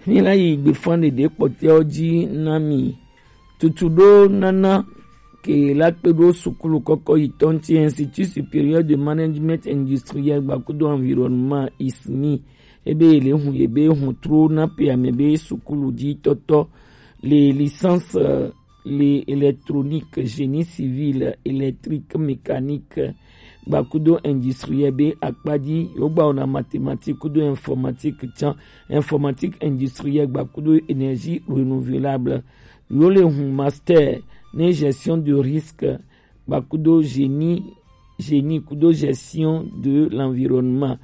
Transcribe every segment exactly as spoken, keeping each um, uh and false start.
Ni la yi gbefan ɖeɖe kpɔtɛwo ji na mi. Tutu ɖo nana ke la kpe ɖo sukulu kɔkɔ yi tɔn ti Institut Supérieur de Management Industriel gbakudo Environnement, ismi. Ebe ye le hun ye be hun tro na pe ame be sukulu ji tɔtɔ le licence, euh, le électronique, génie civil, électrique, mécanique, gbakudo industriel be akpaji, yo gba ona mathématique kudo informatique tsan, informatique industriel gbakudo énergie renouvelable. Yo le hun master ne gestion de risque, gbakudo génie, génie kudo gestion de l'environnement.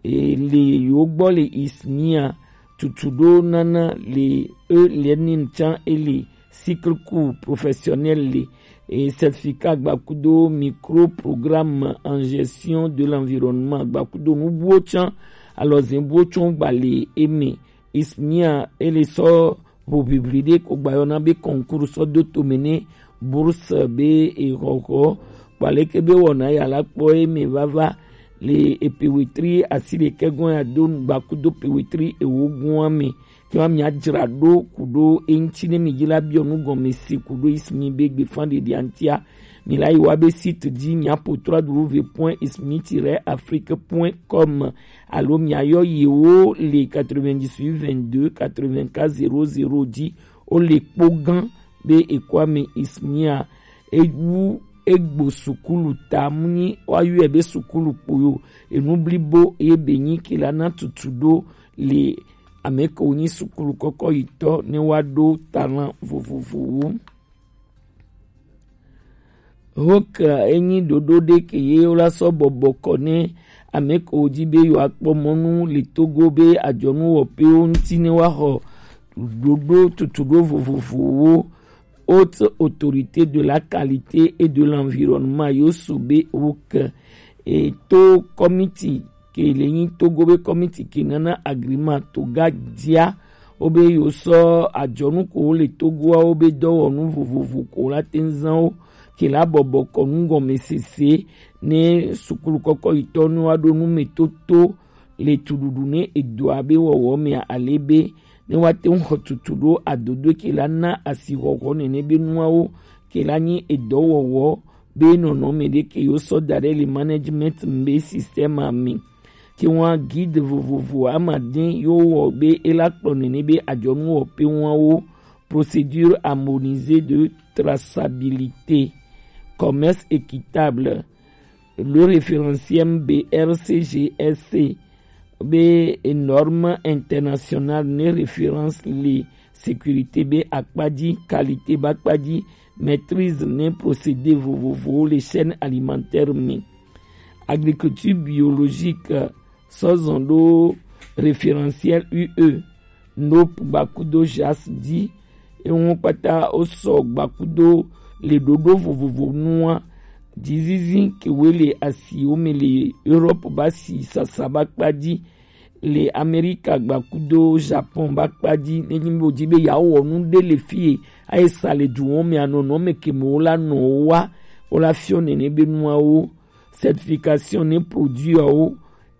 E le yo gbɔ le ismia tutu ɖo nana le e learning tsan e le cycle court professionnel le e certificat gbakudo micro programme en gestion de l'environnement gbakudo nubuwo tsan alɔzɛn buwo tsan gba le eme. Ismia e le sɔ ʋuʋiʋli ɖe ko gbayɔna be concours sɔ do tome ne bourse be exɔxɔ kpaleke be wɔna ya la kpɔ eme vava le epe wetri asi ɖekɛ gɔn ya do gbakudo pe wetri ewo gɔn ame. Ke wa mia dzra ɖo ku ɖo eŋti ne mi dzi la biɔ nu gɔme se ku ɖo ismi be gbefan ɖeɖe antia. Mi la yi wa be site dzi mia po trois w point ismi tiret afrique point com alo mia yɔ yewo le quatre-vingt-dix-huit vingt-deux quatre-vingt-quatre zéro zéro dzi. O le kpo gã be ekɔ ame ismia ewu egbo sukulu ta mu nyi wa yɔe be sukulu kpo yo. Enu blibo ye be nyi ke la na tutu ɖo le ame ke wo nyi sukulu kɔkɔ yi tɔ ne wa ɖo talent vovovowo. Hoke enyi ɖoɖo ɖe ke ye wo la sɔ bɔbɔ kɔ ne ame ke wo dzi be yewoakpɔ mɔnu le Togo be adzɔnu wɔƒewo ŋuti ne woaxɔ ɖoɖo tutuɖo vovovowo. Haute Autorité de la Qualité et de l'Environnement yo su be Hoke e to kɔmiti ke le nyi Togo be kɔmiti ke nana agreement to ga dia wo be yo sɔ adzɔnu ko wo le Togoawo be dɔwɔnu vovovo ko la te ŋu zan wo ke la bɔbɔ kɔ nu gɔme sese ne sukulu kɔkɔ yi tɔ nu wa ɖo nu me toto le tuɖuɖu ne edoa be wɔwɔ mea ale be ne wa te ŋu xɔ tutu ɖo adodo ke la na asi xɔxɔ nene be nuawo ke la nyi edɔwɔwɔ be nɔnɔme ɖe ke yo sɔ da ɖe le management be système me. Ke wa guide vovovo ama ɖe yo wɔ be e la kplɔ nene be adzɔnu wɔƒe wawo procédure harmonisée de traçabilité, commerce équitable, le référentiel B R C G S C be norme internationale ne référence le sécurité be akpaji, qualité be akpaji, maîtrise ne procédé vovovowo le chaîne alimentaire me. Agriculture biologique sɔ zɔn ɖo référentiel U E, NOP gbakudo jas di. Ewo kpata wo sɔ gbakudo le ɖoɖo vovovo nua. Dzizizi ke wo le asiwo me le Europe ba si sasa ba kpa di, le Amerika gbakudo Japon ba kpa di. Ne nyi bo di be ya wɔ nu ɖe le fie ayi sa le du wo me anɔ nɔ me ke me wo la nɔ wo wa wo la fiɔ nene be nuawo. Certification ne produit awo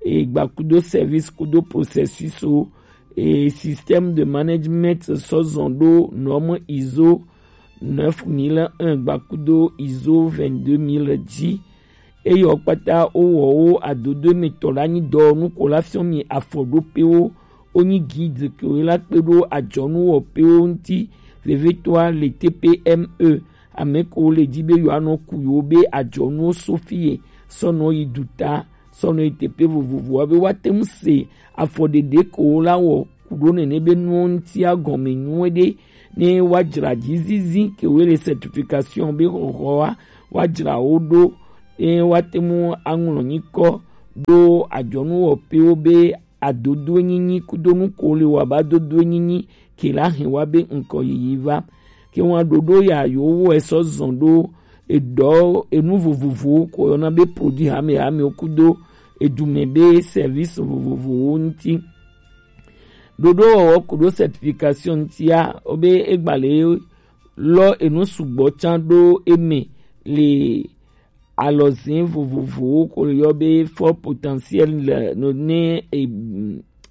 e gbakudo service kudo processus o e système de management sɔ zɔn ɖo norme ISO neuf mille un gbakudo ISO vingt-deux mille dzi. Eyɔ kpata wo wɔ wo adodo me tɔ la nyi dɔ nu ko la fiɔ mi afɔ ɖo pe wo. Wo nyi guide ke wo la kpe ɖo adzɔnu wɔ pe wo ŋuti. Vevitɔa le T P M E ame ko le dzi be yewoanɔ ku yewo be adzɔnuwo so fie sɔ nɔ yi duta sɔ nɔ yi teƒe vovovowo be woate ŋu se afɔɖeɖe ko wo la wɔ ku ɖo nene be nuwo ŋutia gɔme nyuie ɖe ne woadzra dzizizi ke wo le certification be xɔxɔa woadzra wo ɖo ne woate ŋu aŋlɔ nyikɔ ɖo adzɔnuwɔƒewo be adodoenyinyi kudo nu ko le wa ba dodoenyinyi ke la hɛn wa be ŋkɔ yiyi va. Ke wa ɖoɖo ya yo wo esɔ zɔn ɖo edɔ enu vovovowo ko yɔna be produit hamehame kudo edume be service vovovowo ŋuti. Ɖoɖo wɔwɔ kudo certification ŋutia wo be egba le lɔ enu sugbɔ tsan ɖo eme le alɔzin vovovowo ko yɔ be fort potentiel le ne e,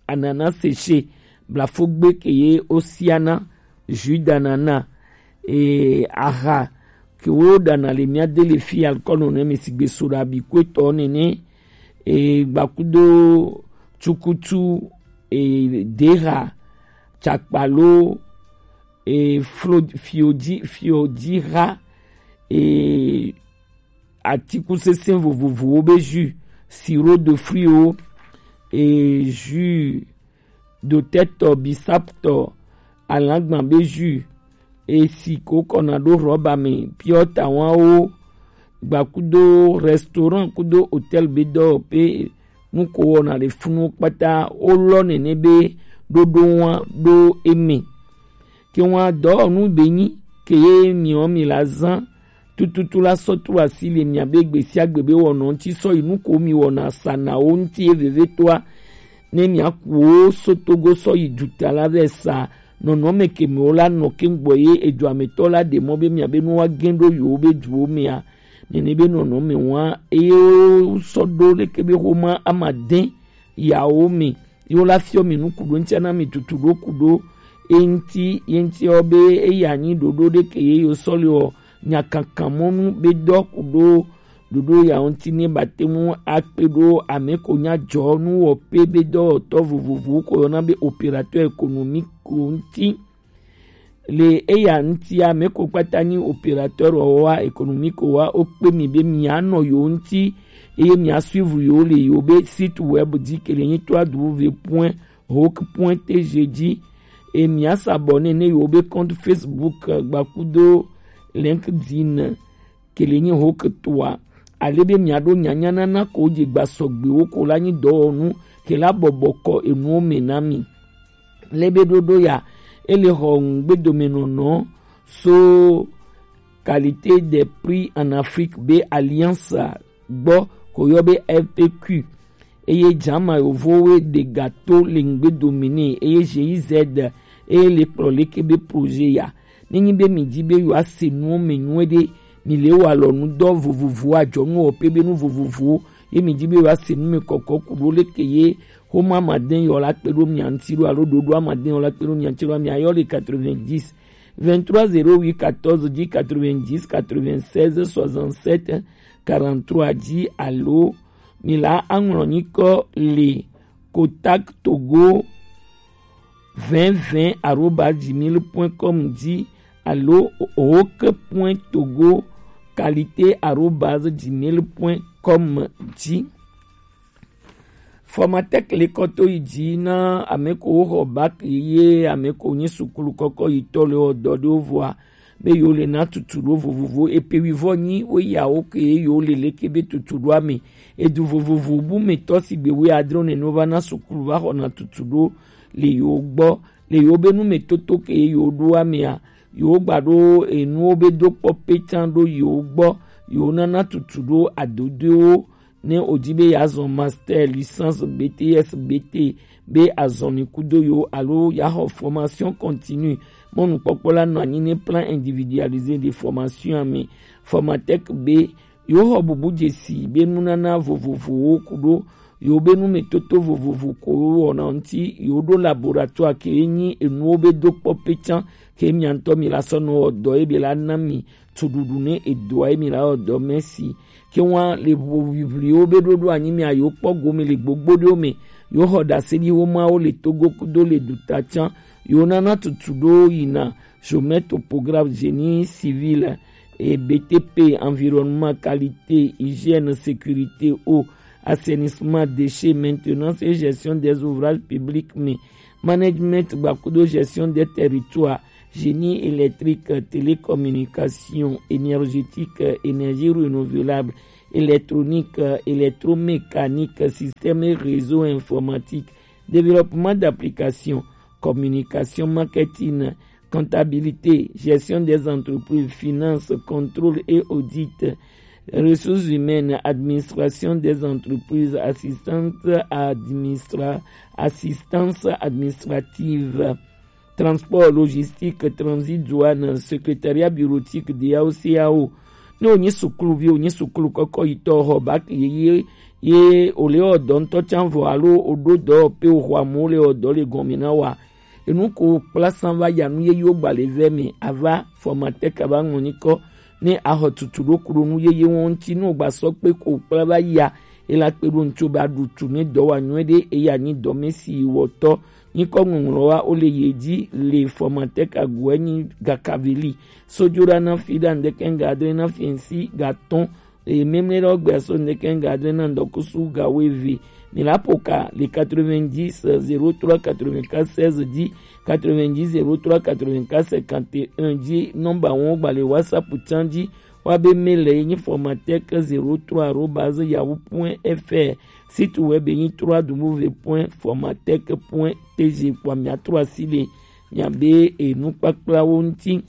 ananas séché blafogbe ke ye osiana, jus d'ananas, e, aha ke wo ɖana le mía de le fi alkɔnu ne mi sigbe soɖa bi kuetɔ nene, e, gbakudo tsukutu, e, deha, tsakpalo, e, flo, fiodzi, fiodziha, e, atikusesẽ vovovowo be jus, sirop de fruits wo, e, jus dotɛtɔ, bisaptɔ, alagban be jus, e, si ko kɔna ɖo rɔba me, piɔta wanwo, gba kudo restaurant kudo hôtel be dɔ pe nu ko wɔna le funu kpata wo lɔ nene be ɖoɖo wa ɖo eme. Ke wa dɔwɔnu be nyi ke ye miɔ mi la zan tututu la sɔ tro asi le mia be gbe sia gbe be wɔnɔ ŋuti sɔ yi nu ko mi wɔna sa na wo ŋuti ye vevetoa ne mia ku wo so Togo sɔ yi duta la vɛ sa nɔnɔme ke me wo la nɔ ke gbɔ ye edu ametɔ la ɖe mɔ be mia be nu wa gɛn ɖo yewo be duwo mea nene be nɔnɔme wa eye wo sɔ ɖo leke be xoma ama dɛn yawo me ye wo la fiɔ mi nu kuɖo ŋuti na mi tutu ɖo kuɖo eŋuti ye ŋuti ɔ be eya nyi ɖoɖo ɖe ke ye yo sɔ le ɔ nyakankan mɔnu be dɔ kuɖo ɖoɖo ya ŋuti ne ba te ŋu akpe ɖo ame ko nya dzɔ nu wɔ pe be dɔwɔtɔ vovovowo ko yɔna be opérateur économique ko ŋuti. Le eya ŋuti ame ko kpata nyi opérateur wa économique wa wo kpe mi be mia nɔ yo ŋuti eye mia suivre yo le yo be site web dzi ke le nyi trois w point hoke point t g dzi e mia s'abonner ne yo be compte Facebook gba kudo LinkedIn ke le nyi hoke toa ale be mia ɖo nyanya nana ko dze gba sɔgbewo ko la nyi dɔwɔnu ke la bɔbɔ kɔ enuwo me na mi. Le be ɖoɖo ya ele xɔ ŋugbedomenɔnɔ so Qualité des prix en Afrique be alliance gbɔ ko yɔ be F P Q eye jama yovowe ɖe gato le ŋugbedo mi nɛ eye G I Z eye le kplɔ leke be projet ya. Nenyi be mi di be yewoa se nuwo me nyuie ɖe, mi le wa lɔ nu dɔ vovovowo adzɔnu wɔ pe be nu vovovowo ye mi di be yewoa se nu me kɔkɔ ku ɖo leke ye xoma ma de yɔ la kpe ɖo mia ŋuti ɖo alo ɖoɖo ama de yɔ la kpe ɖo mia ŋuti ɖo mia yɔ le quatre-vingt-dix vingt-trois zéro huit quatorze dix quatre-vingt-dix quatre-vingt-seize soixante-sept quarante-trois dzi alo mi la aŋlɔ nyikɔ le contact togo vingt vingt arobase gmail point com dzi alo hoke point togo qualité arobase gmail point com dzi. Formatec le kɔ to yi dzi na ame ko wo xɔ bac ye ame ko nyi sukulu kɔkɔ yi tɔ le wɔ dɔ ɖe wo vɔa be yewo le na tutuɖo vovovo epe wivɔ nyi wo yawo ke yewo le leke be tutuɖoa me edu vovovo bu me tɔ si gbe wo adre nene wo va na sukulu va xɔna tutuɖo le yewo gbɔ le yewo be nu me toto ke yewo ɖoa mea yewo gba ɖo enuwo be do kpɔ petan ɖo yewo gbɔ yewo nana tutuɖo adodoewo ne o di be yeazɔ master, licence, B T S, B T be azɔli kudo yo alo yeaxɔ formation continue. Mɔnukpɔkpɔ la nɔ anyi ne plan individualisé de formation ame. Formatec be yewo xɔ bubu dzesi be nunana vovovowo kudo yewo be numetoto vovovo ko wɔna ŋuti yewo ɖo laboratoire ke nyi enuwo be do kpɔ petan ke mia ŋutɔ mi la sɔ nɔ wɔ dɔ ye be la na mi tuɖuɖu ne edoa ye mi la wɔ dɔ mɛ si ke wa le ʋuʋuʋliwo be ɖoɖo anyi mi ayo kpɔ gome le gbogbo ɖewo me yo xɔ ɖase ɖi wo mawo le togo kudo le duta can yo nana tutu ɖo yina chômeur topographe génie civil et B T P environnement qualité hygiène sécurité eau assainissement déchets maintenance et gestion des ouvrages publics mais management gba kudo gestion des territoires génie électrique télécommunication énergétique énergie renouvelable électronique électromécanique système et réseau informatique développement d'application communication marketing comptabilité gestion des entreprises finances contrôle et audit ressources humaines administration des entreprises assistante administra assistance administrative transport logistique transit douane secrétariat bureautique D A O C A O ne wonyi sukuluvi wonyi sukulu kɔkɔ yitɔ xɔ bac yeye ye wole wɔ dɔ ŋutɔ can vɔ alo woɖo dɔ pe woxɔ amewo le wɔ dɔ le gɔme na wa Enu ko kpla san va ya nu yeye wo gba le vɛ mɛ, ava formateur ka va ŋlɔ nyikɔ ne axɔ tutu ɖo ku ɖo nu yeye wo ŋuti. Ne wo gba sɔ kpe ko kpla va ya, e la kpe ɖo ŋuti ba ɖu tu ne dɔ wa nyuie ɖe, eya nyi dɔmesi wɔtɔ. Nyikɔ ŋɔŋlɔ wa wo le ye dzi le formateur ka gu enyi gakaveli. Sojo ɖa na fi ɖa ŋdeke ŋga adre na fi ŋsi gatɔn. Eye mɛmlɛ ɖe wo gbea so ŋdeke ŋga adre na ŋdɔkusu ga wo eve. Mi la po ka le quatre-vingt-dix zéro trois quatre-vingt-quatre seize dzi, quatre-vingt-dix zéro trois quatre-vingt-quatre cinquante et un dzi. Nɔmba wo gba le WhatsApp tsan dzi. Wa be mail ye nyi formatec zéro trois arobase yahoo point F R. Site web ye nyi trois W point formatec point T G. Kpɔ mia trɔ asi le mia be enukpakplawo ŋuti.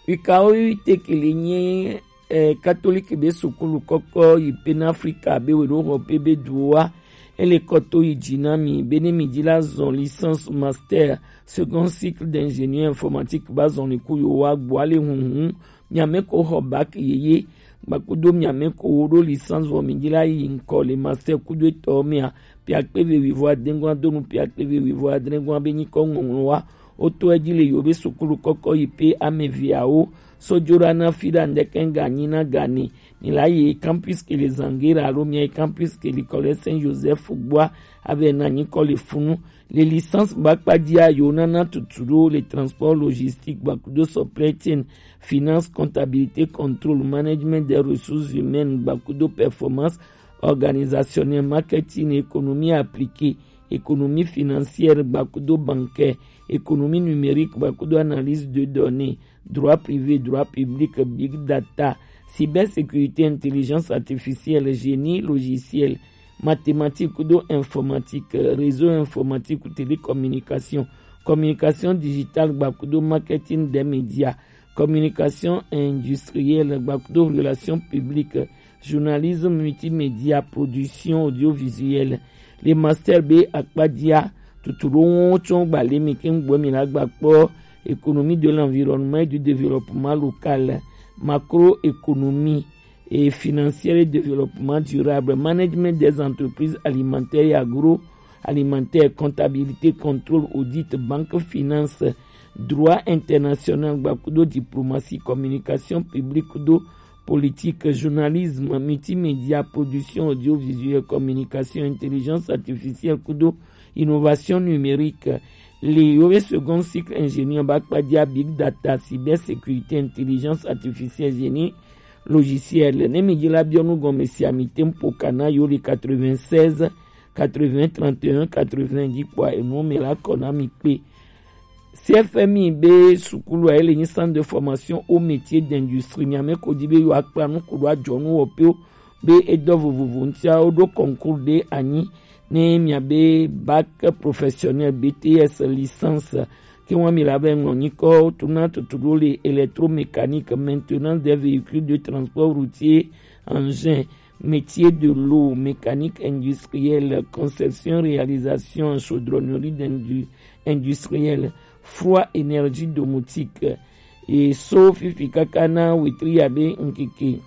Wikawo yi te ke le nye eh, katoliki be sukulu kɔkɔ yi pe na Afrika be we ɖo xɔ pe be duwo wa. Ele kɔto yi dzi na mi be ne mi dzi la zɔn licence, master, second cycle d'ingénieur informatique ba zɔn le ku yo wa gbɔ ale hunhun. Miame ko xɔ bac yeye gbakudo miame ko wo ɖo licence vɔ mi dzi la yi ŋkɔ le master kudo etɔ mea, piakpe ve wivɔ adengua donu piakpe ve wivɔ adengua be nyikɔ ŋɔŋlɔ wa. Woto edzi le yewo be sukulu kɔkɔ yi pe ame eveawo. Sojo ɖa na fi ɖa ŋdeke ŋga nyi na ga ni. Mi la yi campus ke le Zangera alo mi yi campus ke le Collège Saint Joseph gbɔa, ave na nyikɔ le funu. Le licence ba kpa dzia yewo nana tutu ɖo le transport logistique gbakudo supply chain, finance, comptabilité, contrôle, management des ressources humaines gbakudo performance, organisationnel, marketing, économie appliquée, économie financière gbakudo bancaire, économie numérique gbakudo analyse de données, droit privé, droit public, big data, cybersécurité, intelligence artificielle, génie logiciel, mathématiques kudo informatique, réseau informatique ou télécommunication, communication digitale gbakudo marketing des médias, communication industrielle gbakudo relations publiques, journalisme multimédia, production audiovisuelle. Le master be akpadia tutu ɖo wo tsɔ gba le mi ke ŋgbɔ mi la gba kpɔ économie de l'environnement et du développement local, macroéconomie et financière et développement durable, management des entreprises alimentaires et agroalimentaires, comptabilité, contrôle, audit, banque, finance, droit international gbakudo diplomatie, communication publique kudo politique, journalisme, multimédia, production audiovisuelle, communication, intelligence artificielle kudo innovation numérique. Le yewo be second cycle ingénieur ba kpadia big data, cybersécurité, intelligence artificielle, génie logiciel. Ne mi dzi la biɔ nu gɔme sia mi te ŋ po kana yewo le quatre-vingt-seize quatre-vingts trente et un quatre-vingts dzi kpɔa enu me la kɔ na mi kpe. C F M I be sukulu a ele nyi centre de formation au métier d'industrie. Miame ko di be yo akpla nu kudo adzɔnu wɔ pe be edɔ vovovo ŋutia woɖo concours ɖe anyi ne miabe bac professionnel, B T S, licence. Ke wa mi la be ŋlɔ nyikɔ tuna tutu ɖo le électromécanique, maintenance des véhicules de transport routier, engin, métier de l'eau, mécanique industrielle, conception, réalisation en chaudronnerie d'indu-, industrielle, froid, énergie domotique. E so fifi kaka na wetri ya be ŋkeke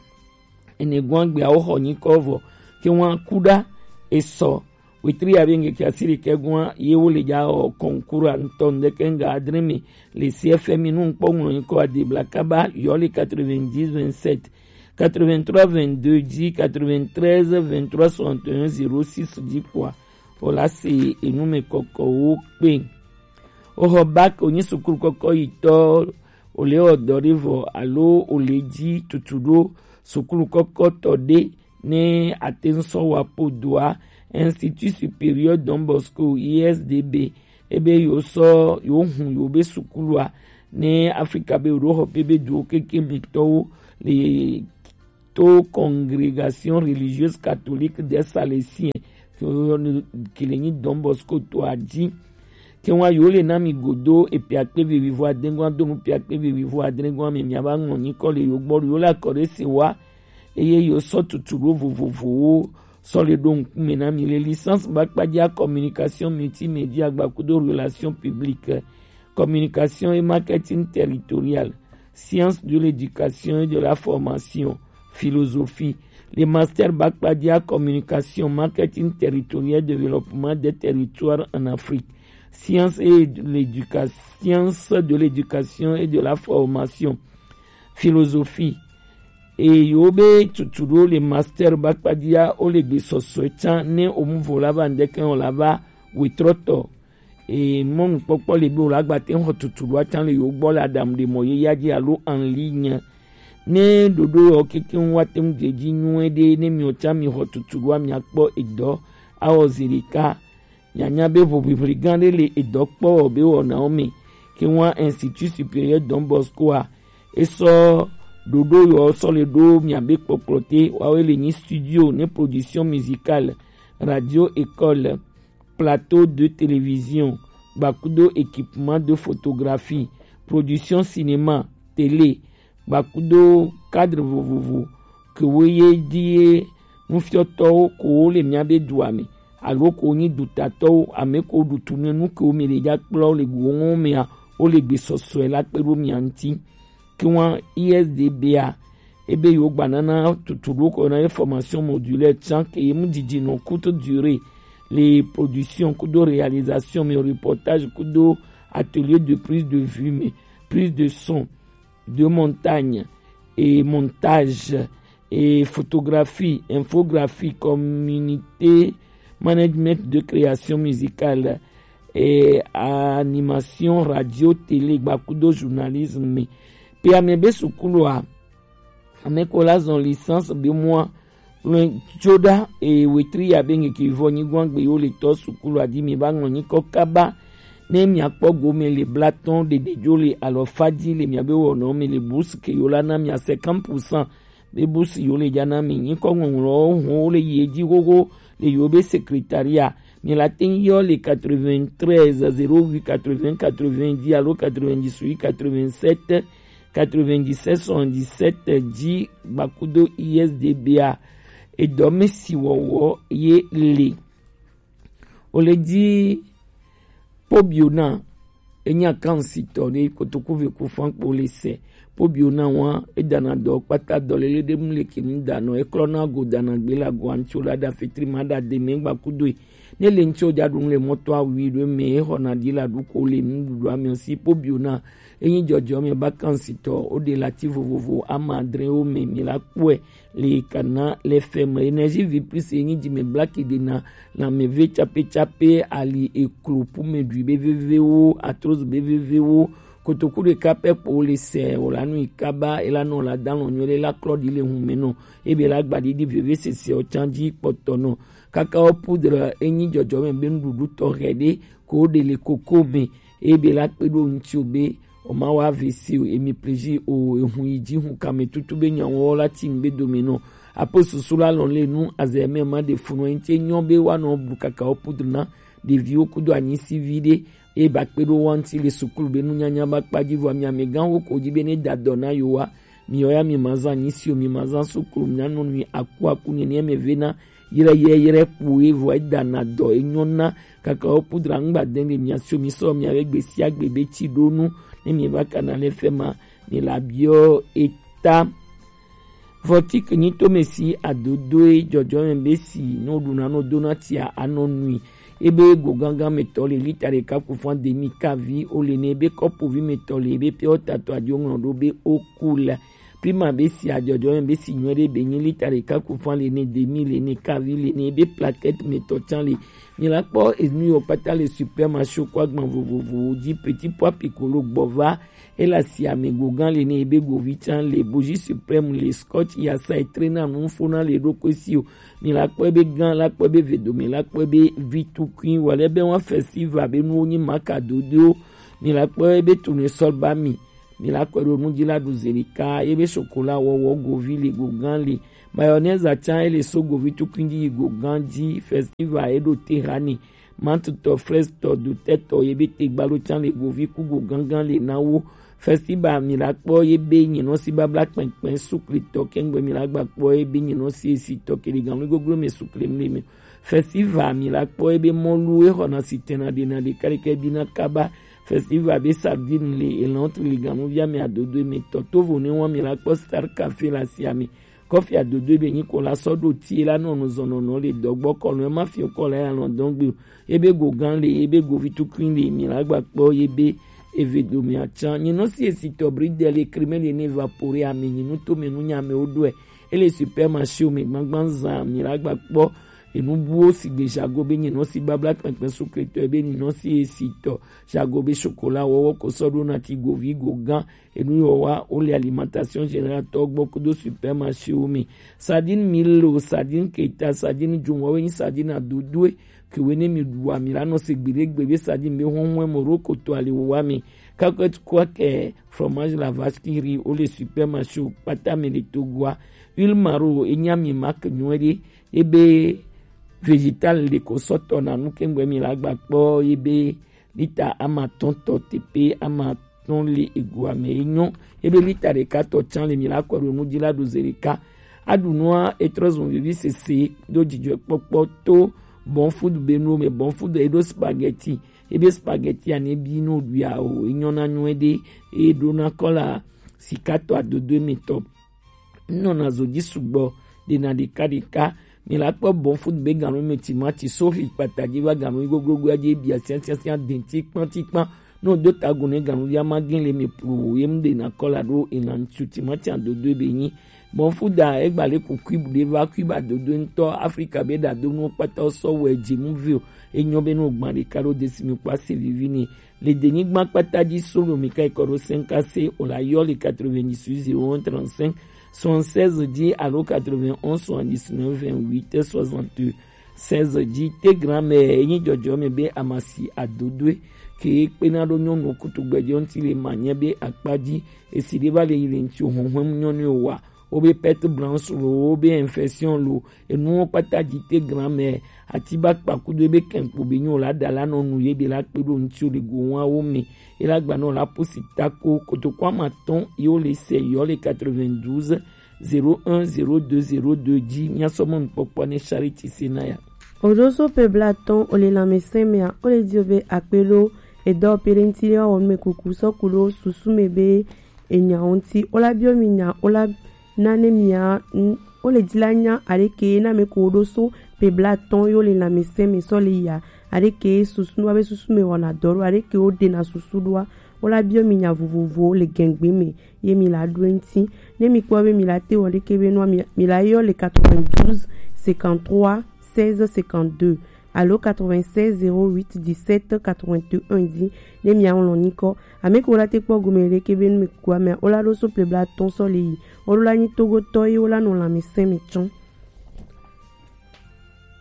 ene gwan gbe awo xɔ nyikɔ vɔ ke wa kuɖa esɔ wetri ya be ŋkeke asi ɖekɛ gwan ye wo le ja xɔ concours ŋutɔ ŋdeke ŋga adre me le C F M I nu ŋkpɔ ŋlɔ nyikɔ adebla kaba yɔ le quatre-vingt-dix vingt-sept quatre-vingt-trois vingt-deux dzi, quatre-vingt-treize vingt-trois soixante et un zéro six dzi kpɔa, wòle asi enu me kɔkɔwo kpe. Woxɔ bac wònyi sukulu kɔkɔ yi tɔ, wòle wɔ dɔ ɖe vɔ alo wòle dzi tutu ɖo sukulu kɔkɔ tɔ ɖe ne ate ŋu sɔ wa po doa, Institut Supérieur Don Bosco, I S D B, ebe yewo sɔ yewo hun yewo be sukulua ne Afrika be yewo ɖo xɔ pe be duwo keke me tɔwo le to Congrégation religieuse catholique des Salesiens ke le nyi Don Bosco to a dzi. Ke wa yewo le na mi godo epia kpe vevivo adengua donu pia kpe vevivo adengua me mia ba ŋlɔ nyikɔ le yewo gbɔ yewo le akɔ ɖe se wa eye yewo sɔ tutu ɖo vovovowo sɔ le ɖo ŋkume na mi le licence ba kpadza communication multimédia gbakudo relation publique, communication et marketing territorial, science de l'éducation et de la formation, philosophie, le master ba kpadza communication, marketing territorial, développement des territoires en Afrique, science et de l'éducation, science de l'éducation et de la formation, philosophie. Eye wo be tutu ɖo le master ba kpadia wo le gbe sɔsɔe can ne omuvo la ba ŋdɛkɛ o la ba wetrɔtɔ. Eye mɔnukpɔkpɔ le be o la gba te xɔ tutu ɖo acan le yo gbɔ le adamu ɖe mɔ ye ya dzi alo en ligne. Ne ɖoɖo yɔ kekeŋ wa te ŋu dze dzi nyuie ɖe ne miɔ can mi xɔ tutu ɖoa mia kpɔ edɔ awɔ zi ɖeka. Mianya be ʋuʋiʋli gã ɖe le edɔ kpɔ wɔ be wɔnawo me. Ke wa Institut Supérieur Don Bosco a, esɔ ɖoɖo yɔ sɔ le ɖo miabe kpɔkplɔ te wawe le nyi studio ne production musicale, radio école, plateau de télévision, gbakudo équipement de photographie, production cinéma, télé, gbakudo cadre vovovo ke wo ye di ye nufiɔtɔwo ko wo le miabe dua me alo ko nyi dutatɔwo ame ko ɖu tu ne nu ke wo mi le dza kplɔ le go ŋɔ mea wo le gbe sɔsɔe la kpe ɖo mia ŋuti. Ke wa I S D B a ebe yo gba nana tutu ɖo ko na ye formation modulaire can ke ye mu didi nɔ courte durée, les productions kudo réalisation mais reportage kudo atelier de prise de vue mais prise de son, de montagne et montage et photographie, infographie, communauté, management de création musicale et animation radio télé gbakudo journalisme. Pe ame be sukulu a ame ko la zɔn licence be mua lɔn tso ɖa eye wetri ya be ŋkeke vɔ nyigɔn gbe yo le tɔ sukulu adi mi ba ŋlɔ nyikɔ kaba ne miakpɔ gome le blatɔn ɖeɖe dzo le alɔfa dzi le miabe wɔnɔ me le bourse ke yo la na mia cinquante pour cent be bourse yo le dza na mi nyikɔ ŋɔŋlɔwo hɔn wo le yi edzi xoxo le yo be secrétariat. Mi la te ŋu yɔ le quatre-vingt-treize zéro huit quatre-vingts quatre-vingts dzi alo quatre-vingt-dix-huit quatre-vingt-sept quatre-vingt-dix-sept soixante-dix-sept dzi gbakudo I S D B a. Edɔ me si wɔwɔ ye le. O le dzi Pobiona enyi akansitɔ ɖe kotoku ve ku fan kpo le se. Pobiona wa edana dɔ kpata dɔ lele ɖe mu le ke nu danɔ eklɔna go dana gbe la go antso la da fetri ma da de me gbakudo e. Ne le ŋtsi o dza ɖu nu le mɔto awi ɖo me exɔna ɖi la ɖu ko le nuɖuɖu ame si Pobiona enyi dzɔdzɔme ba kansitɔ o ɖe lati vovovo ama adre wo me mi la kpɔe le kana le fɛ me énergie vie plus enyi dzi me blaki ɖe na na me ve tsape tsape ali eklo pu me ɖui be vevewo atroz be vevewo kotoku ɖeka pɛ kpo le se o la nu yi kaba e la nɔ la dalɔ nyuie ɖe la klɔ ɖi le hun me nɔ ebe la gba ɖiɖi veve sese o can dzi kpɔtɔ nɔ. Kakao poudre enyi dzɔdzɔme be nuɖuɖu tɔxɛ ɖe ko ɖe le koko me eye be la kpe ɖo ŋuti o be o ma wa vese o emi plezi o ehun yi dzi hun kame tutu be nyawo la ti ŋgbe dome nɔ. Apo susu la lɔn le nu azɛ me ma ɖe funu ŋuti nyɔ be wa nɔ bu kakao poudre na ɖeviwo kudo anyisi vi ɖe eye ba kpe ɖo wa ŋuti le sukulu be nunyanya ba kpa dzi vɔ mi amegãwo ko dzi be ne da dɔ na yo wa mi yɔ ya mi ma zan anyisi o mi ma zan sukulu mi na nɔ nui aku aku nene me ve na yɛrɛyɛrɛ kpo ye vɔ edana dɔ enyɔna kaka wo pudra ŋgba dɛn le mia so mi sɔ mia be gbesi agbe be tsi ɖo nu ne mi va kana le fɛ ma mi la biɔ eta. Vɔtik nyi to me si adodoe dzɔdzɔme be si no ɖuna no dona tia anɔ nui ebe go gangan me tɔ le lita ɖeka ku fún ademi kavi o le ne ebe kɔpu vi me tɔ le ebe pia o tato adio ŋlɔ ɖo be o ku la. Prima be si adzɔdzɔ yɔn be si nyuie ɖe be nyi lita ɖeka ku fan le ne demi le ne kavi le ne be plaquette me tɔ can le. Mi la kpɔ enu yɔ kpata le supermarché ko agban vovovowo dzi petit pois piccolo gbɔ va e la si ame go gan le ne be govi can le bougie suprême le scotch yasa e trena nu fona le ɖokui si o. Mi la kpɔ be gan la kpɔ be vedome la kpɔ be vi tukui wale be wa festival be nuwo nyi maka dodo. Mi la kpɔ be tournesol ba mi. Mi la kɔe ɖo nu dzi la ɖu zelika ye be sokola wɔwɔ govi le go gan le mayonnaise atsa ye le so govi tukui dzi yi go gan dzi festival ye ɖo te ha ni mantutɔ frestɔ dotɛtɔ ye be te gbalo tsa le govi ku go gangan le na wo. Festival mi la kpɔ ye be nyinɔ si babla kpɛnkpɛn suklitɔ kɛngbe mi la gba kpɔ ye be nyinɔ si esi tɔ kele gan mi goglo mi sukle mi le mi. Festival mi la kpɔ ye be mɔlu ye xɔna si tɛna ɖena ɖeka ɖeka bi na kaba. Festival be sardine le elan tu le ganu via mi adodo mi tɔ tovo ne wa mi la kpɔ star café la sia mi. Kɔfi adodo ebe nyi ko la sɔ ɖo ti la nɔ nu zɔnɔnɔ le dɔgbɔ kɔnɔ ema fi kɔ la ya lɔn dɔn gbe o. Ebe go gan le, ebe go vi tukui le, mi la gba kpɔ ebe eve do mi atsan. Nyi nɔ si esi tɔ bri de le krime le ne va pore ami nyi nu to me nu nya me o ɖɔe. Ele supermarché o me gbangban zan mi la gba kpɔ enu buwo sigbe jago be nyi nɔ si babla kpɛnkpɛn sukletɔ ebe nyi nɔ si esi tɔ jago be chocolat wɔwɔ ko sɔ ɖo na ti go vi go gan. Enu yɔ wa wo le alimentation générale tɔ gbɔ kudo supermarché wo me. Sardine mille o, sardine keta, sardine jumɔ wo nyi sardine adodoe. Ke wo ne mi ɖu ami la nɔ se gbeɖe gbe be sardine be hɔn hɔn mo ro koto ali wo wa mi. Kakɔt kwa ke fromage la vache qui rit wo le supermarché wo kpata me le Togoa. Huile maro e nya mi marque nyuie ɖe. Ebe végétal le ko sɔ tɔ na nu kengbe mi la gba kpɔ ebe lita ama tɔn tɔ tepe ama tɔn le ego ame enyo. Ebe lita ɖeka tɔ tsan le mi la kɔ ɖo nu dzi la ɖo ze ɖeka. Aɖu nua etrɔ zun vivi sese ɖo dzidzɔ kpɔkpɔ to bon food be nu me bon food eɖo spaghetti. Ebe spaghetti ane bi no ɖu ya o enyo na nyuie ɖe eɖo na kɔla sika tɔ adodo mi tɔ. Nɔna zo dzi sugbɔ ɖena ɖeka ɖeka. Mi la kpɔ bon food be ganu me timati sohli kpata dzi va ganu yi goglogo ya dzi bia sian sian sian den tikpan tikpan. No do ta go ne ganu ya ma gin le mi plu ye mu ɖena kɔla ɖo ena ŋutsu timati adodo be nyi. Bon food a egba le ku cube ɖe va cube adodo ŋutɔ Afrika be ɖa do nu kpata sɔ wɔ edzi mu vi o. Enyo be no gban ɖeka ɖo desi mi kpa se vivi ni. Le denyigba kpata dzi solo mi ka ikɔ ɖo cinq C o la yɔ le quatre-vingt-dix-huit zéro un trente-cinq soixante-seize dzi alo quatre-vingt-onze soixante-dix-neuf vingt-huit soixante-seize dzi. Tegram me enyi jɔjɔ me be amasi adodoe ke kpena ɖo nyɔnu kutugbɛjɔ ŋuti le manyɛ be akpa dzi esi ɖe va le yi le ŋuti o hɔnhɔn nyɔnu wa. Wo be perte blanche lo, wo be infection lo, enuwo kpata dzi te grand-mère, ati ba kpa kudo ebe kɛnkpo be nyo la da la nɔ nu ye be la kpe ɖo ŋuti o le go wa wo me. E la gba nɔ la pusi tako kotoko ama tɔn ye wo le se yɔ le quatre-vingt-douze zéro un zéro deux zéro deux dzi mia sɔ mɔ nukpɔkpɔ ne Charity Senaya. Oɖo so pe bla tɔn o le lanmɛsɛn mea o le di o be akpe ɖo edɔ pe ɖe ŋuti ye wa wɔ nu me kuku sɔ ku ɖo susu me be enya ŋuti. Wola biɔ mi nya, wola na ne mia, n-, wole di la nya aɖeke na me ko ɖo so pe bla tɔn yo le lanmɛsɛn me sɔ le ya. Aɖeke susu wa be susu me wɔna dɔ ɖo, aɖeke wo ɖena susu ɖoa. Wola biɔ mi nya vovovo le gɛngbe me ye mi la ɖo eŋuti. Ne mi kpɔ be mi la te wɔ ɖeke be nua mi, mi la yɔ le quatre-vingt-douze cinquante-trois seize cinquante-deux. Alo quatre-vingt-seize zéro huit dix-sept quatre-vingt-un dzi ne mia ŋlɔ nyikɔ. Ame ke wola te kpɔ gome ɖeke be nu me kukua mea, wola ɖo so ple bla tɔn sɔ le yi. Woɖo la nyi Togotɔ ye wola nɔ lanmɛsɛn me tsɔn.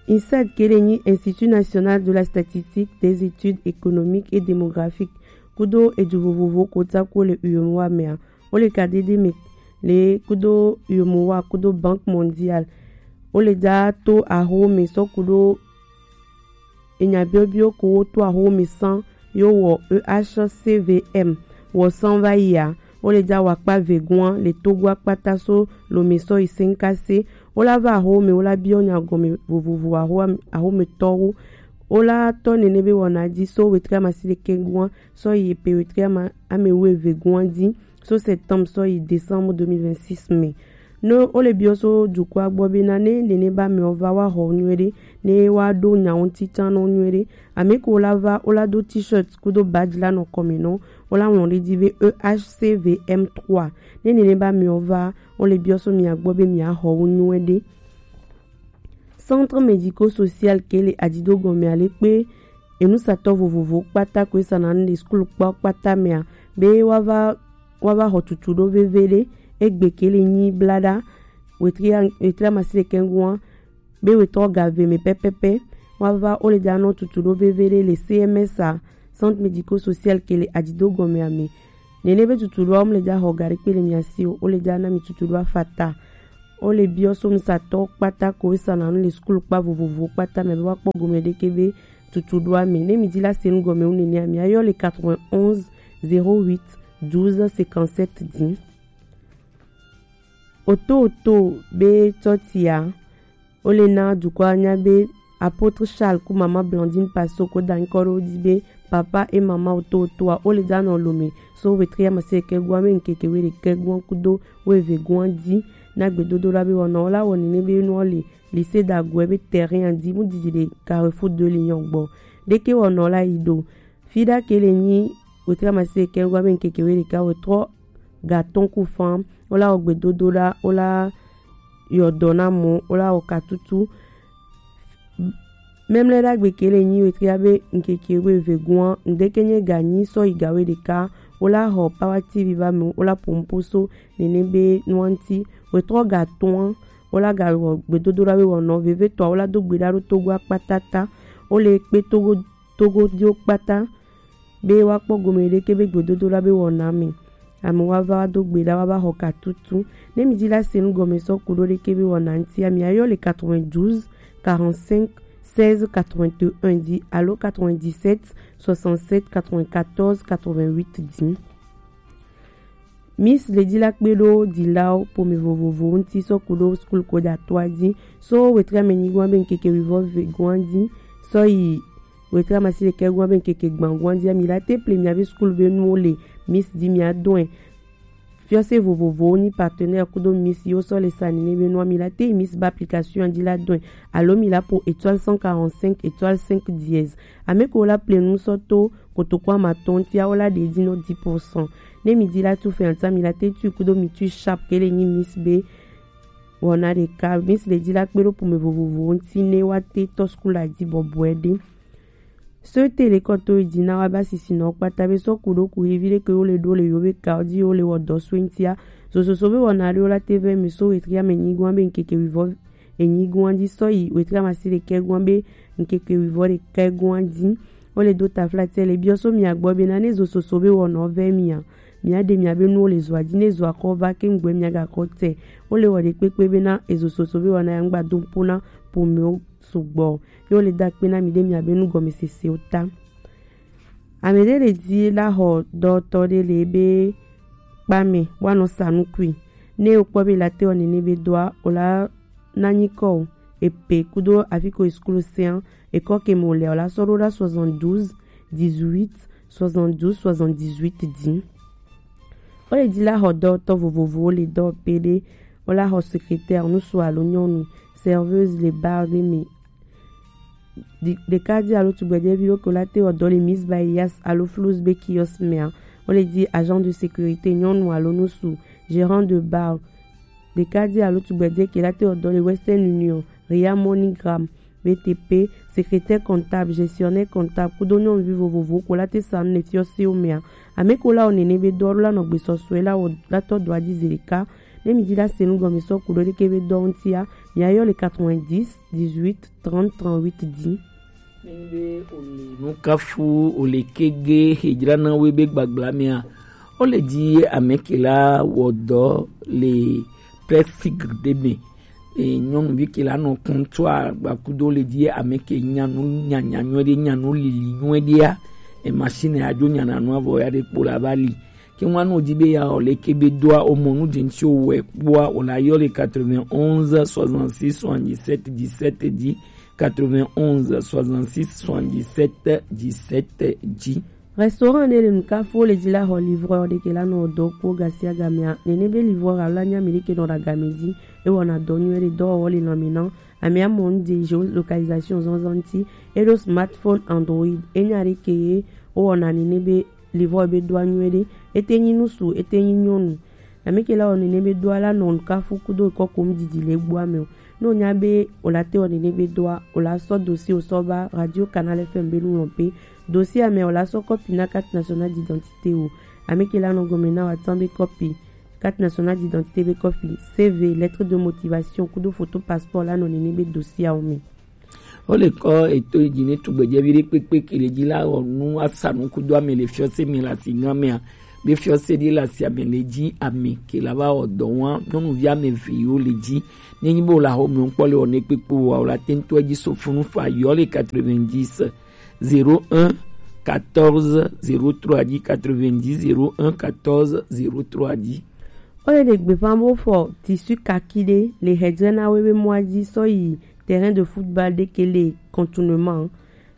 INSEED ke le nyi Institut National de la Statistique, des Études Économiques et Démographiques kudo edu vovovo kota ko le U E M O A mea. Wo le ka dede me le kudo U E M O A kudo Banque Mondiale. Wo le da to aho me sɔ kudo enya biobio ko wo to aho me san yo wɔ E H C V M wɔ san va yi a. Wo le da wakpa vegoa le Togo akpata so lo me sɔ yi senkase. Wo la va aho me, wo la biɔ nya gɔme vovovo aho, aho me tɔwo. Wo la tɔ nene be wɔna di so wetri amasi ɖekɛ goa sɔ yi pe wetri ama, ame wuieve goa di so septembre sɔ yi décembre deux mille vingt-six me. Ne wo le biɔ so dukɔa gbɔ be na ne nene ba me wo va wa xɔ nyuie ɖe, ne wa ɖo nya ŋuti tsã nɔ nyuie ɖe. Ame ko la va, wo la do t-shirt kudo badge la nɔ kɔme nɔ, wo la ŋlɔ ɖe di be E H C V M trois. Ne nene ba me wo va, wo le biɔ so mia gbɔ be mia xɔ wo nyuie ɖe. Centre médico-social ke le Adido gɔme ale kpe enusatɔ vovovo kpata ko esana nu le skul kpɔ kpata mea, be wa va, wa va xɔ tutu ɖo veve ɖe. Egbe ke le nyi blaɖa wetri a-, wetri amasi ɖekɛ goa be wetɔ ga ve me pɛpɛpɛ. Wa va wo le da nɔ tutu ɖo veve ɖe le C M S a, Centre médico-social ke le Adido gɔme ame. Nene be tutu ɖoa wo mu le da xɔ ga ɖekpe le mia si o, wo le da na mi tutu ɖoa fata. Wo le biɔ so nusatɔ kpata ko esana nu le skul kpa vovovo kpata me be wa kpɔ gome ɖeke be tutu ɖoa me. Ne mi di la se nu gɔme wu nene a, mia yɔ le quatre-vingt-onze zéro huit douze cinquante-sept di. Oto oto be tɔtia, wo le na dukɔa nya be Apôtre Charles ku mama Blandine Paso ko da nyikɔ ɖo wo ji be papa et maman oto otoa wo le ja nɔ lome so wetri amasiɖekɛgoa be ŋkeke weɖekɛgoa kudo woevegoa ji na gbedodoɖa be wɔna wo la wɔ nene be nuɔ le lycée Dagoe be terrain ji mu didi le Carrefour de Lyon gbɔ. Ɖeke wɔna wo la yi ɖo Fiɖa ke le nyi wetri amasiɖekɛgoa be ŋkeke weɖeka wetrɔ ga atɔn ku fan wo la wɔ gbedodoɖa wo la yɔ dɔ na mɔ wo la wɔ katutu. Mɛmlɛ ɖagbe ke le nyi wetria be ŋkeke wevegoa ŋdeke nye ga nyi sɔ yi ga weɖeka wo la xɔ Power T V va me wo la pompo so nene be nua ŋti wetrɔ ga atɔa wo la ga wɔ gbedodoɖa be wɔnɔ vevetɔa wo la do gbe ɖa ɖo Togo akpata ta wo le kpe Togo Togo diwo kpata be woakpɔ gome ɖeke be gbedodoɖa be wɔna me. Ame woava do gbe ɖa woava xɔ katutu. Ne mi di la se nu gɔme sɔ ku ɖo ɖeke be wɔna ŋtia mi ayɔ le quatre-vingt-douze quarante-cinq seize quatre-vingt-un di alo quatre-vingt-dix-sept soixante-sept quatre-vingt-quatorze quatre-vingt-huit di. Miss le di la kpe ɖo dilawo pome vovovowo ŋti sɔ ku ɖo skul ko ɖe atɔa di so wetri ame nyigoa be ŋkeke wivɔ vegoa di sɔ yi wetri amasiɖekɛgoa be ŋkeke gbangoa di ami la te ple miabe skul be nuwo le Miss di mia dɔe. Fiɔse vovovowo nyi partenaire kudo Miss yiwo sɔ le sa nene be nua mi la te yi Miss ba application di la dɔe alo mi la po étoile cent quarante-cinq étoile cinq dièse. Ame ko la ple nu sɔ to kotoko amatɔn tia wo la ɖe di nɔ dix pour cent. Ne mi di la tu fɛn ata mi la te tu kudo mi tu sharp ke le nyi Miss be wɔna ɖeka Miss le di la kpe ɖo pome vovovowo ŋti ne wa te tɔ skul la di bɔbɔe ɖe. So te le kɔ to yi di na wa ba sisi nɔ kpata be sɔ ku ɖo ku hevi ɖe ke wo le ɖo le yo be ka di wo le wɔ dɔ so ŋtia. Zososo be wɔna ɖe wo la te vɛ mi so wetri ame nyigoa be ŋkeke wivɔ enyigoa di sɔ yi wetri amasiɖekɛgoa be ŋkeke wivɔ ɖekɛgoa di. Wo le do taflatɛ le biɔ so mia gbɔ be na ne zososo be wɔnɔ vɛ mia. Mia ɖe mia be nuwo le zoa di ne zoa kɔ va ke ŋgbɛ mia ga kɔ tɛ. Wo le wɔ ɖe kpekpe be na ezososo be wɔna ya ŋgba do ŋpo na pomewo sugbɔ. Ye wo le da kpe na mi ɖe mia be nu gɔmesesewo ta. Ame ɖe le di la xɔ dɔtɔ ɖe le be kpame woanɔ sa nukui. Ne wokpɔ be la te wɔ nene be doa o la na nyikɔ o epe kudo afi ko esklo sean ekɔ ke mo le o la sɔ ɖo ɖa soixante-douze dix-huit soixante-douze soixante-dix-huit di. Wo le di la xɔ dɔtɔ vovovowo le dɔ pe ɖe wo la xɔ secrétaire nusu alo nyɔnu serveuse le bar ɖe me. Ɖeka di alo tugbɛjɛvi ɖo ke wo la te wɔ dɔ le Miss Bayas alo Flows be kiosk mea. Wo le di agent de sécurité nyɔnu alo nusu gérant de bar. Ɖeka di alo tugbɛjɛ ke la te wɔ dɔ le Western Union, Ria MoneyGram, B T P, secrétaire comptable, gestionnaire comptable kudo nyɔnuvi vovovowo ko la te sa nu le fiɔsewo mea. Ame ko la wɔ nene be dɔ la nɔ gbesɔsɔe la wɔ la tɔ dɔ adi zi ɖeka. Ne mi di la se nu gɔme sɔ ku ɖo ɖeke be dɔ ŋtia, mia yɔ le quatre-vingt-dix dix-huit trente trente-huit di. Nenye be ole nukafu ole kege hejra na we be gbagbla mea, ole di ame ke la wɔ dɔ le prefig ɖe me. E, nyɔnuvi ke la nɔ kɔntɔa gbakudo le di ame ke nya nu nyanya nyuie ɖe, nya nu lili nyuie ɖea, e, machine adzo nyana nu avɔ ya ɖe kpo la va li. Ke ŋua no di be ya o le ke be doa o mo nu di ŋti o wɛ kpoa o la yɔ le quatre-vingt-onze soixante-six soixante-dix-sept dix-sept di, quatre-vingt-onze soixante-six soixante-dix-sept dix-sept di. Restaurant ne le nukafu le di la xɔ livreur ɖe ke la nɔ dɔ kpo gasiagamea. Nene be livreur alo la nya mi ɖe ke nɔ ɖa game di. E wɔna dɔ nyuie ɖe dɔwɔwɔ le lanme na. Amea mɔ nu de géolocalisation zɔnzɔn ŋti. E ɖo smartphone Android. E nya ɖe ke ye o wɔna nene be livreur be doa nyuie ɖe. E te nyi nusu, e te nyi nyɔnu. Ame ke la wɔ nene be doa la nɔ nukafu kudo kɔkom didi le gbua me o. Ne o nya be o la te wɔ nene be doa, o la sɔ dossier o sɔ ba Radio Canal F M be nu lɔn pe. Dossier ame o la sɔ kɔpi na carte nationale d'identité o. Ame ke la nɔ gɔme na wa tan be kɔpi carte nationale d'identité be kɔpi, C V, lettre de motivation kudo photo passeport la nɔ nene be dossier awo me. Wo le kɔ eto yi dzi ne tugbedzɛvi ɖe kpekpe ke le dzi la wɔ nu asa nu kudo ame le fiɔse me le asi gã mea, be fiɔse ɖe le asi ame le dzi ame ke la va wɔ dɔ wa nyɔnuvi ame eve yiwo le dzi. Ne nyi be wo le axɔ me ŋkpɔ le wɔ ne kpekpe o wa, wo la te ŋutɔ dzi so funu fa yɔ le quatre-vingt-dix zéro un quatorze zéro trois dzi, quatre-vingt-dix zéro un quatorze zéro trois dzi. Wo le ɖe gbeƒã be wofɔ tissu kaki ɖe le hedzre na wo be mɔa dzi sɔ yi terrain de football ɖe ke le contournement.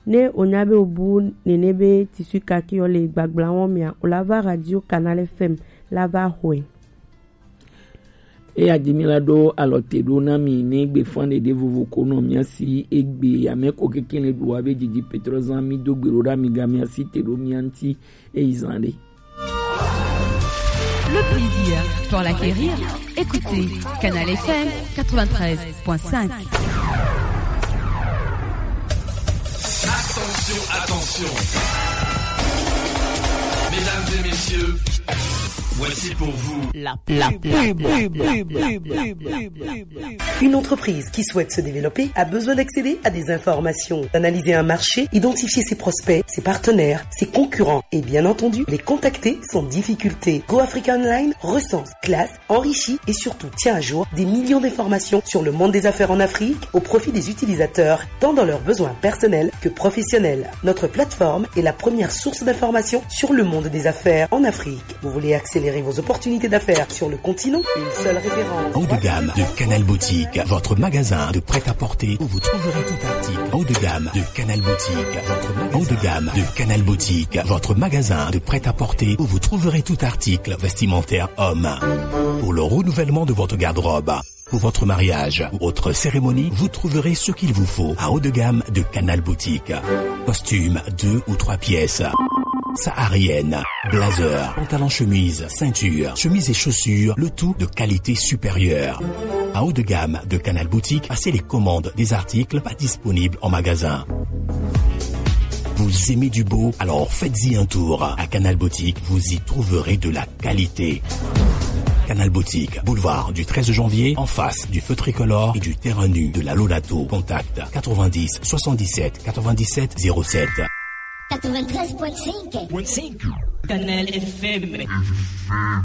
Ne o nya be o bu nene be tissu kaki ɔ le gbagbla wɔn mia, o la va radio Canal F M la va xɔe. Eya ji mi la ɖo alɔ te ɖo na mi ne gbe fan ɖeɖe vovo ko nɔ mia si egbe ya me ko keke le ɖu wa be jiji petrɔ zan mi do gbe ɖo ɖa mi ga mia si te ɖo mia ŋuti eyi zan ɖe. Le plaisir pour l'acquérir, écoutez Canal F M quatre-vingt-treize point cinq. Attention, attention. Mesdames et messieurs, voici pour vous la pub. Une entreprise qui souhaite se développer a besoin d'accéder à des informations, d'analyser un marché, identifier ses prospects, ses partenaires, ses concurrents et bien entendu les contacter sans difficulté. Go Africa Online recense, classe, enrichit et surtout tient à jour des millions d'informations sur le monde des affaires en Afrique au profit des utilisateurs, tant dans leurs besoins personnels que professionnels. Notre plateforme est la première source d'information sur le monde des affaires en Afrique. Vous voulez accélérer vos opportunités d'affaires sur le continent ? Une seule référence. Haut de gamme de Canal Boutique, votre magasin de prêt-à-porter où vous trouverez tout article. Haut de gamme de Canal Boutique, votre magasin. Haut de gamme de Canal Boutique, votre magasin de prêt-à-porter où vous trouverez tout article vestimentaire homme. Pour le renouvellement de votre garde-robe, pour votre mariage ou autre cérémonie, vous trouverez ce qu'il vous faut à haut de gamme de Canal Boutique. Costume deux ou trois pièces. Saharienne, blazer, pantalon chemise, ceinture, chemise et chaussures, le tout de qualité supérieure. À haut de gamme de Canal Boutique, passez les commandes des articles pas disponibles en magasin. Vous aimez du beau ? Alors faites-y un tour. À Canal Boutique, vous y trouverez de la qualité. Canal Boutique, boulevard du treize janvier, en face du feu tricolore et du terrain nu de la Lolato. Contact quatre-vingt-dix soixante-dix-sept quatre-vingt-dix-sept zéro sept. Quatre-vingt-treize point cinq. Canal F M.